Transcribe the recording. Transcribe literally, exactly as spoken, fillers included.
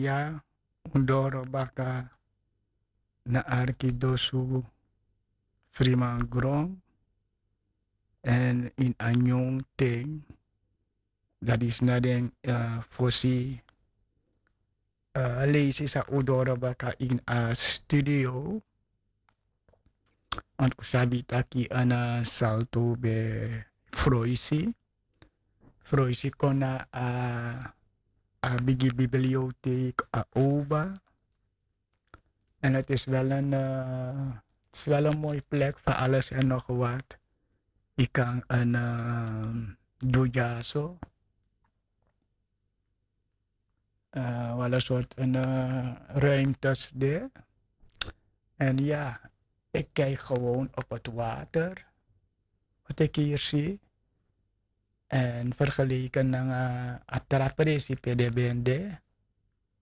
Ya, un doro baka na arkidosu, frimangron, en in a nyun ten, dat is na den, eh, fosi, eh, leisi san un doro baka in a studio. Want un sabi taki a na Salto ben froisi. Froisi kon na a, a bigi bibliotheek, a oba. En het is wel een, eh, het is wel een mooi plek voor alles en nog wat. Je kan een, eh, Jujaso, eh, wel een soort een, eh, ruimtes daar. En ja, ik kijk gewoon op het water, wat ik hier zie. En vergeleken na a tra presi pe den ben de,